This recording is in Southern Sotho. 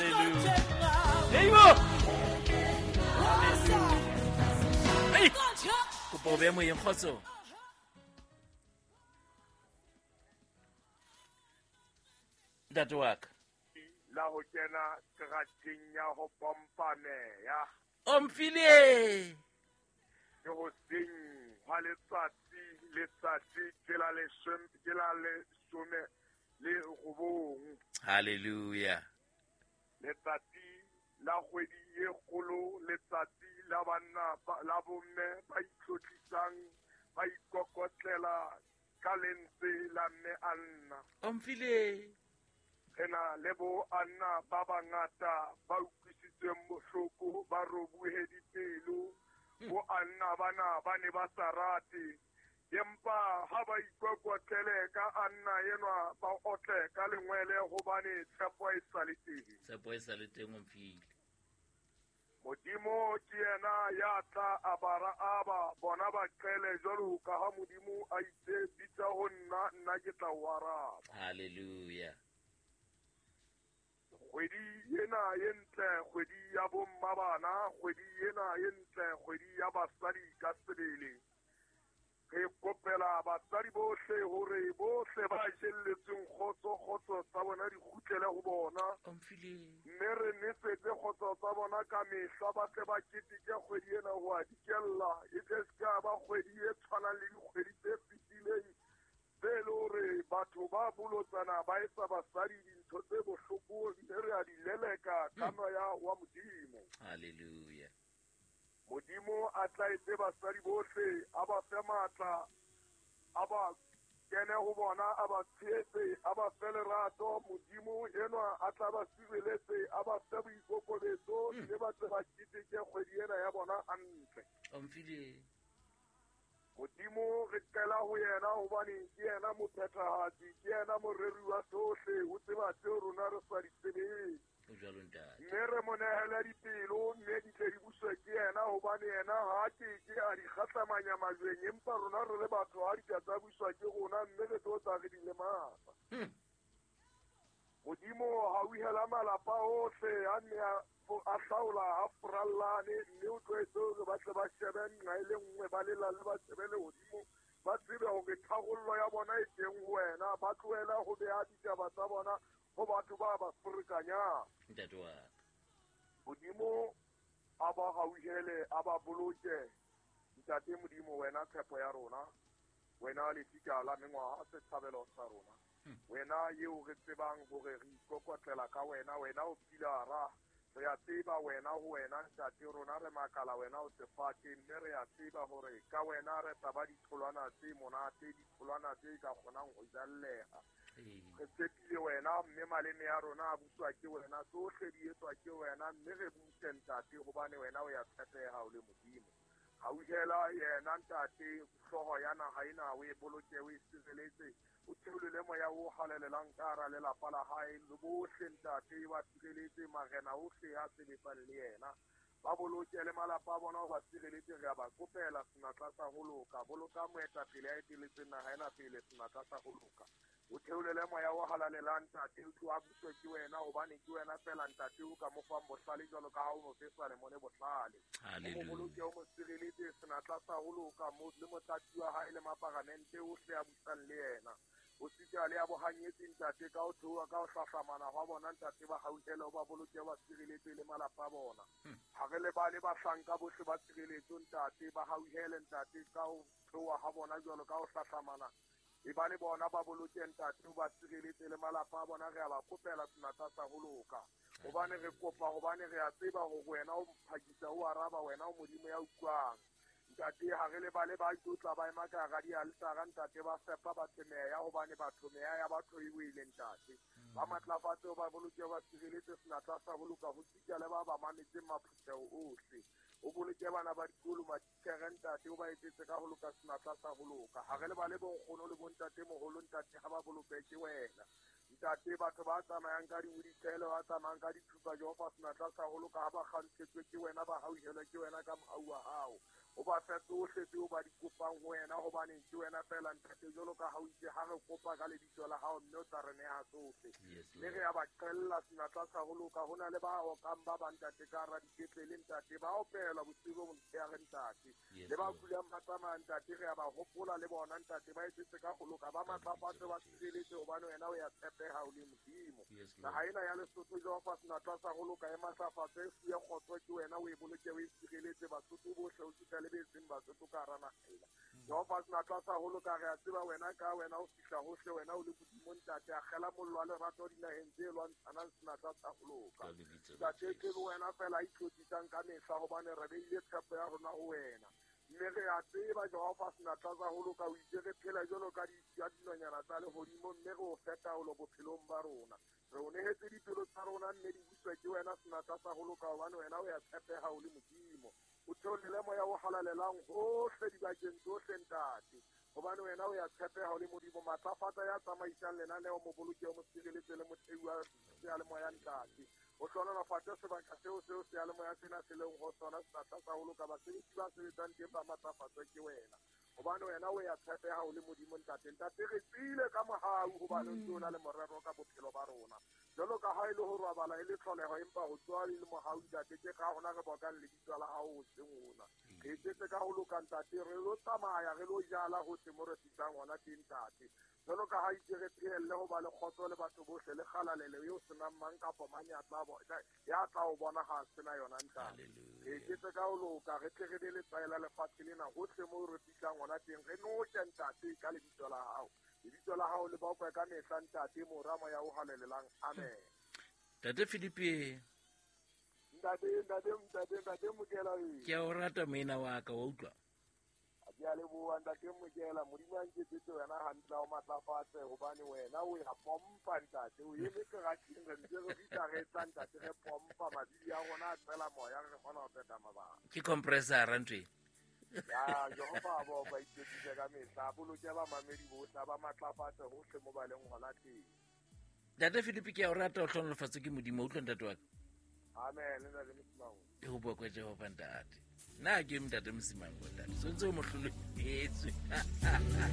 Hallelujah. Heibo. Hey. Kopa o behe moyeng kgotso. Ntate wa ka. La ho kena terateng ya ho pompa meya. O mfile. Ke ho seng hwa letsatsi, letsatsi ke la leshome, ke la 19. Hallelujah. Letsatsi la kgwedi e kgolo, letsatsi la banna la bomme ba itlotlisang, ba ikokotlela ka lentswe la mme Anna. O mfile. Re na le bo Anna ba bangata ba utlwisitsweng bohloko, ba robuhe dipelo. Bo Anna bana ba ne ba sa rate, empa ha ba ikokotlele ka Anna enwa ba otle ka lengwele hobane tshepo e sa le teng. Tshepo e sa le teng, o mfile. Modimo ke yena ya tla a bara aba bona ba qele jwalo ka ha Modimo a itse bitsa ho nna, nna ke tla o araba. Hallelujah. Kgwedi ena e ntle, kgwedi ya bomma bana, kgwedi ena e ntle, kgwedi ya basadi ka sebele. Re kopela basadi bohle hore bohle ba jelletsweng kgotso, kgotso tsa bona di kgutlele ho bona. Mme re nesetse kgotso tsa bona ka mehla, ba tle ba keteke kgwedi ena ho a dikella. E tle se ka ba kgwedi e tshwanang le dikgwedi tse fetileng, tse le hore batho ba bolotsana ba etsa basadi dintho tse bohloko, mme re a di leleka ka moya wa Modimo. Hallelujah. Modimo a tla etse basadi bohle, a ba fe matla, a ba kene ho bona, a ba tshehetse, a ba fe lerato. Modimo enwa a tla ba sireletse, a ba fe boikokobetso, mme ba tle ba keteke kgwedi ena ya bona hantle. O mfile. Modimo re qela ho yena hobane ke yena mophethahatsi, ke yena moreri wa sohle, o tseba tseo rona re sa di tsebeng. O jwalo ntate. Mme re mo nehele dipelo, mme di tle di buswe ke yena, hobane yena ha ke ke a di kgahlamanya majweng, empa rona re le batho ha di ka tsa buswa ke rona, mme re tlo tla re di lematsa. Modimo hauhela malapa ohle a nne a hlaola a furallane, mme o tlwaetse hore ba tle ba shebe nqa e le nngwe, ba lelale ba shebe lehodimo, ba tsebe hore tharollo ya bona e teng ho wena, ba tlohele ho beha ditaba tsa bona ho batho ba ba ferekanyang. Ntate wa ka. Modimo a ba hauhele, a ba boloke. Ntate Modimo, wena tshepo ya rona, wena lefika la mengwaha, setshabelo sa rona. Wena eo re tsebang hore re ikokotlela ka wena, wena o pilara, re a tseba wena ho wena ntate rona re makala wena o sefate, mme re a tseba hore ka wena re tla ba ditholwana tse monate, ditholwana tse ka kgonang ho jalleha. Re tshepile wena, mme maleme a rona a buswa ke wena, tsohle di etswa ke wena, mme re buse ntate hobane wena o ya tshepeha o le Modimo. Hauhela yena ntate, hlooho ya naha ena o e boloke, o e sireletse, o theolele moya o halalelang ka hara lelapa la hae, le bohle ntate ba sireletse, marena ohle a sebetsang le yena. Ba boloke le malapa a bona, o ba sireletse, re a ba kopela senatla sa ho loka. Boloka moetapele a eteletseng naha ena pele, senatla sa ho loka. O theolele moya o halalelang ntate, o tlo a buswe ke wena, hobane ke wena fela ntate o ka mo fang bohlale jwalo ka ha o mo fe Salomone bohlale. O mo boloke, o mo sireletse, senatla sa ho loka, le motlatsi wa hae le maparamente ohle a busang le yena. O sita le a bohanyetsi ntate ka ho theoha ka ho hlahlamana hwa bona ntate, ba hauhele, o ba boloke, ba sireletse le malapa a bona. Ha re lebale bahlanka bohle ba tshireletso ntate, ba hauhele ntate ka ho theoha ha bona jwalo ka ho hlahlamana. E ba le bona ba boloke ntate, o ba sireletse le malapa a bona, re a ba kopela senatla sa ho loka. Hobane re kopa, hobane re a tseba hore wena o phakisa o araba, wena o Modimo ya utlwang. Ntate, ha re lebale ba tlotla ba ema ka hara dialtara ntate, ba fepa batho meya, hobane batho meya ya batho e wele ntate. Ba matlafatse, ba boloke, ba sireletse senatla sa ho loka, ho sita le ba ba mametseng maphutheho ohle. O boloke bana ba dikolo, matitjhere ntate, o ba etsetse ka ho loka senatla sa ho loka. Ha re lebale bonkgono le bontate moholo ntate, ha ba boloke ke wena. Ntate, batho ba tsamayang ka diwheelchair, ba tsamayang ka dithupa, Jehova senatla sa ho loka, ha ba kgantshetswe ke wena, ba hauhelwe ke wena ka mohau wa hao. O ba fe tsohle tseo ba di kopang ho wena, hobane ke wena feela ntate, jwalo ka ha o itse ha re kopa ka lebitso la hao, mme o tla re neha tsohle. Mme re a ba qella senatla sa ho loka. Ho na le ba okang ba bang ntate ka hara dipetlele ntate, ba opelwa bosiu bo motshehare ntate. Le ba kulang ba tsamaya ntate, re a ba hopola le bona ntate, ba etsetse ka ho loka, ba matlafatse, ba sireletse, hobane wena o ya tshepeha o le Modimo. Naha ena ya Lesotho, Jehova senatla sa ho loka, e matlafatse, e fuwe kgotso ke wena, o e boloke, o e sireletse, Basotho bohle o fihla le betseng Basotho ka hara naha ena. Jehova senatla sa ho loka, re a tseba wena ka wena o fihla hohle, wena o le Modimo ntate, akgela mollo wa lerato dinaheng tse lwantshanang senatla sa ho loka. Ntate, ke wena fela a itlotlisang ka mehla, hobane re beile tshepo ya rona ho wena. Mme re a tseba Jehova senatla sa ho loka, o itse re phela jwalo ka dinonyana tsa lehodimo, mme re o fe taolo bophelong ba rona. Re o nehetse dipelo tsa rona, mme di buswa ke wena senatla sa ho loka, hobane wena o ya tshepeha o le Modimo. O theolele moya o halalelang hohle dibakeng tsohle ntate, hobane wena o ya tshepeha o le Modimo. Matlafatsa ya tsamaisang lenaneo, mo boloke, o mo sireletse le mothei wa seyalemoya ntate. O hlohonolofatse sebaka seo seo seyalemoya sena se leng ho sona senatla sa ho loka, basebetsi ba sebetsang teng ba matlafatswe ke wena, hobane wena o ya tshepeha o le Modimo ntate. Ntate, re tswile ka mohau, hobane o ntse o na le morero ka bophelo ba rona. Jwalo ka ha e le ho robala e le tlholeho, empa ho tsoha e le mohau ntate, ke ka hona re bokang lebitso la hao hoseng hona. Re etsetse ka ho loka ntate, re lo tsamaya, re lo jala hohle mo re fihlang hona teng ntate. Jwalo ka ha itse re phehelle ho ba le kgotso le batho bohle, le kgalalelo eo senang mang kapa mang ya tla o bona ha sena yona ntate. Re etsetse ka ho loka, re tle re be letswai la lefatshe lena hohle mo re fihlang hona teng, re noke ntate ka lebitso la hao. Lebitso la hao le bokwe ka mehla ntate, Mora, Moya o halalelang. Amen. Ntate Philippe. Ntate Mokela. Ke a o rata moena wa ka, wa utlwa. Ke a leboha ntate Mokela, Modimo a nketsetse wena hantle, o matlafatse, hobane wena o ya pompa ntate, o eme kerateng, re ntse re fihla re tla ntate, re pompa mabidi a rona a tsela moya, re kgona ho phetha mabaka. Ke compressor ntwe. Ya Jehova bo ba itsetsise ka mehla, boloke ba mamedi bohle, ba matlafatse hohle mo ba leng hona teng. Ntate Philippe, ke a o rata, o hlohonolofatse ke Modimo, utlwa ntate wa ka. Amen, ntate Mosimango. E ho bokwe Jehova ntate. Nna ke ntate Mosimango ntate. So ntse o mo hlolehetswe.